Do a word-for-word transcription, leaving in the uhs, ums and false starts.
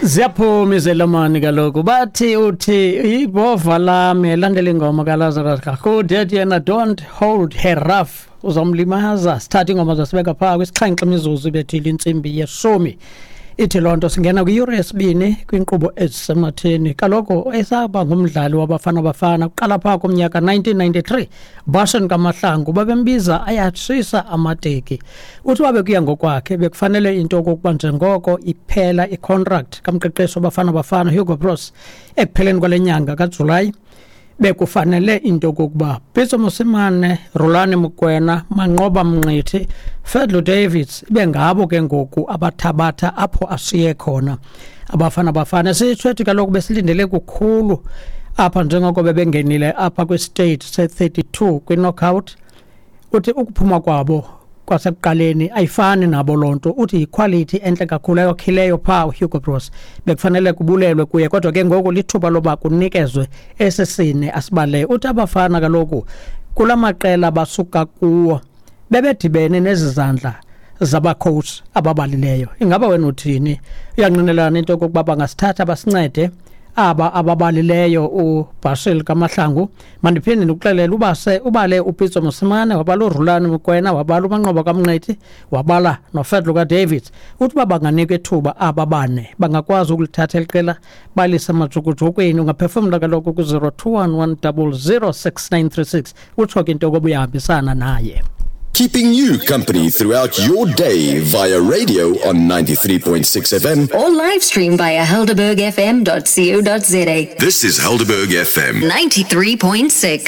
Ziyaphuma izelamani kaloku, bathi uthi ibhova lami elandela ingoma kaLazarus Kakhudi ethi yena "Don't hold her rough", uzomlimaza. Sithatha ingoma zasibeka phaa kwisixhenxe imizuzu ibethile intsimbi yeshumi. Ithi loo nto singena kwiyure yesibini kwinkqubo ezisematheni. Kaloku esaba ngumdlali waBafana Bafana kuqala phaa kumnyaka nineteen ninety-three, Bashan kaMahlangu babembiza ayatshisa amateki. Uthi wabe kuya ngokwakhe bekufanele into okokuba njengoko iphela icontract kamqeqeshi waBafana Bafana Hugo Broos ekupheleni kwale nyanga kaJulayi, bekufanele into okokuba Pitso Mosimane, Rulani Mokwena, Manqoba Mngqithi, Fadlu Davids ibe ngabo ke ngoku abathabatha apho ashiye khona Abafana Bafana. Sitsho ethi kaloku besilindele kukhulu apha njengoko bebengenile apha kwistage se-thirty-two kwi-knockout. Uthi ukuphuma kwabo kwasekuqaleni ayifani nabo loo nto. Uthi yiquality entle kakhulu ayokhileyo phaa uHugo Broos, bekufanele kubulelwe kuye, kodwa ke ngoku lithuba loba kunikezwe esesine asibaleyo. Uthi abafana kaloku kula maqela basuka kuwo bebedibene nezi zandla zabacoach ababalileyo. Ingaba wena uthini? Uyanqinelana into yokokuba bangasithatha basincede aba ababalileyo uBasil kaMahlangu? Mandiphinde ndikuxelele uba se ubale uPitso Mosimane, wabala uRulani Mokwena, wabala uManqoba kaMngqithi, wabala noFadlu kaDavids. Uthi uba banganikwa ithuba aba bane bangakwazi ukulithatha eli qela balise emajukujukweni. Ungaphefumla kaloku ku-zero two one one double zero six nine three six, utsho ke into yokoba uyahambisana naye. Keeping you company throughout your day via radio on ninety-three point six F M. Or live stream via helderberg F M dot co dot za. This is Helderberg F M. ninety-three point six.